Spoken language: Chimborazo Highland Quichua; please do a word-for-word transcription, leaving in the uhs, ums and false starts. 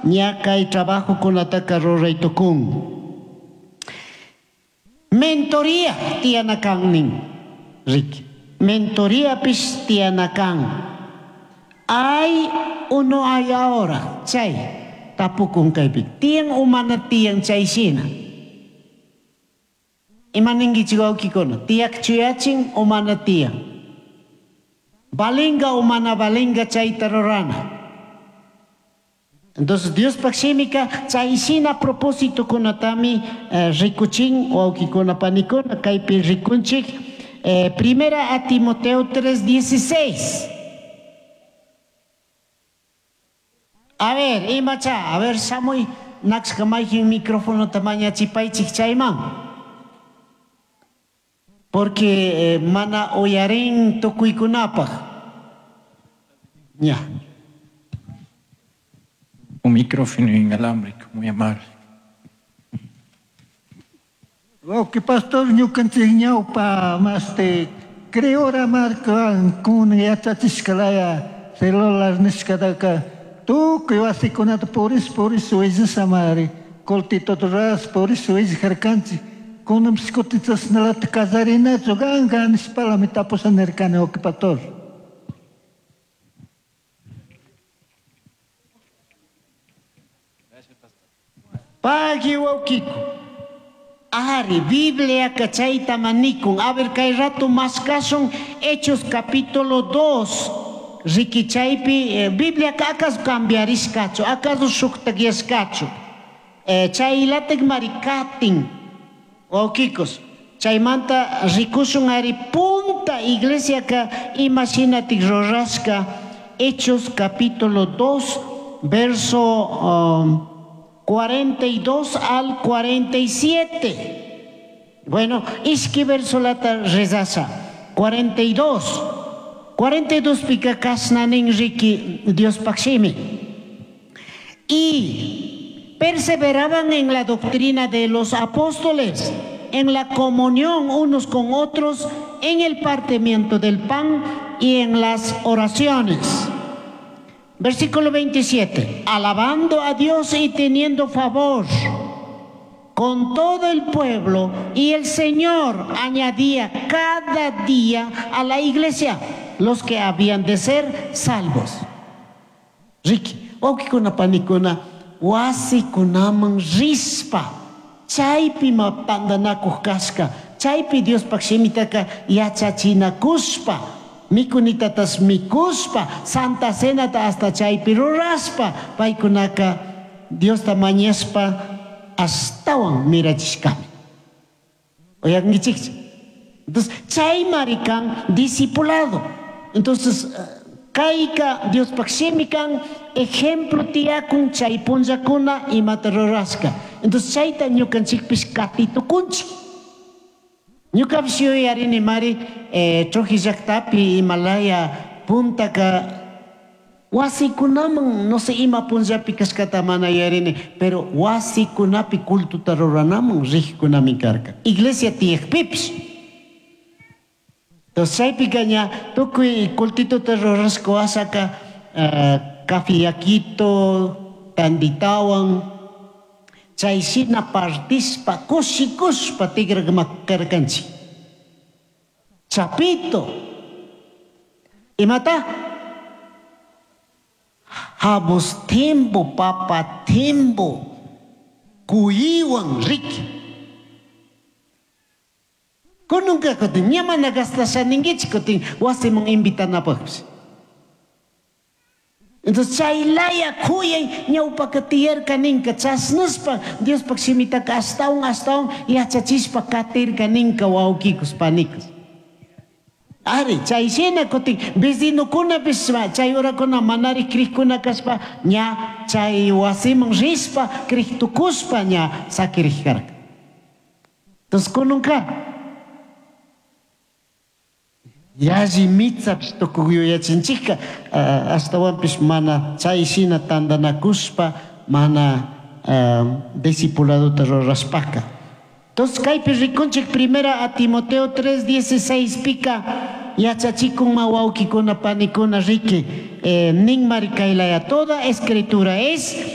Ña kay trabajokunataka ruray tukun. Mentoría tiyana kan nin. Riki. Mentoriapish tiyana kan. Hay o no hay ahora? Chay tapukun kaypi. Tiyan o mana tiyan chay shina. Ima ninkichik wawkikuna? Tiyak chuyachin o mana tiyan? Valinga o mana valinga chayta rurana. Entonces Diospaj shimika chay shina propósitokunatami eh, rikuchin wawkikuna panikuna kaypi rikunchik eh, primera a Timoteo tres dieciséis. A ver, imacha, a ver, shamuy nakshka mayjin microfonota mañachipaychik chayman. Porque eh, mana uyarin tukuykunapaj. Ya. Un micrófono inalámbrico, muy amable. Wawqi pastor, ñukanchik ñawpa maste creora markawan kunan yachachishkalaya celular nishkataka tukuy wasikunata puris puris willashamari cultitota ruras puris willajarkanchik. Kunanpish kutin chashnalata kallarinachu kanka nishpalami tapusha nirkani, wawqi pastor. Pagui wawkiku. Ari, Biblia chayta manikun. A ver, kay rato maskasun Hechos capítulo dos. Riki chaypi, eh, Biblia acaso cambiarishkachu, acaso shuktakyashkachu. Eh, chaylatik marikatin. Wawkikos. Chaymanta rikushun ari punta iglesia ka imashinatik rurashka. Hechos capítulo dos, verso um, cuarenta y dos al cuarenta y siete. Bueno, ishki versolata rezasha. cuarenta y dos. cuarenta y dos pika kashna nin riki Diospaj shimi. Y perseveraban en la doctrina de los apóstoles, en la comunión unos con otros, en el partimiento del pan y en las oraciones. Versículo veintisiete. Alabando a Dios y teniendo favor con todo el pueblo, y el Señor añadía cada día a la iglesia los que habían de ser salvos. Riki, wawkikuna panikuna, wasikunaman rispa, chaypi ma tantanakuj kashka, chaypi Diospaj shimitaka yachachinakushpa, mikunitatas mikuspa, Santa Cenata hasta chaypi ruraspa, paykunaka Diosta mañashpa ashtawan mirachishkami. Uyankichikchu? Entonces, chay marikan discipulado. Entonces, kayka Diospaj shimi kan ejemplo tiyakun chay punllakuna imata rurashka. Entonces, chayta ñukanchikpish katitukunchik. Ñukapish yuyarini mari eh, Trujillo llaktapi Himalaya puntaka wasikunaman, no sé ima punllapi kashkata mana yuyarini, pero wasikunapi cultuta ruranaman rijkunami karka. Iglesia tiyakpipish. Entonces chaypika ña tukuy cultituta rurashka wasaka uh, kafiakito, tanditawan, chay shina partishpa kushikushpa tigrakarkanchik. Chapito. Imata? Habos timbo, papa timbo, kuyiwan riki. Kununka kutin, ña mana gastasha ninkichik kutin wasiman invitanapaqpish. Entonces chaylaya kuyay ñawpaka tiyarka ninka chasnashpa Diospaj shimitaka ashtawan ashtawan yachachishpa katirka ninka wawkikus panikus. Ari, chay shina kutin vecinokunapish chay horakuna manari krikuna kashpa ña chay wasiman rishpa kriktukushpa ña sakirik karka. Entonces kununka yalli mitzapish tukuy yuyachinchikka ashtawanpish mana chay shina tantanakushpa mana discipuladota rurashpaka. Entonces kaypi rikunchik primera a Timoteo tres dieciséis pika yachachikun wawkikuna panikuna riki eh, nin mari kaylaya toda escritura es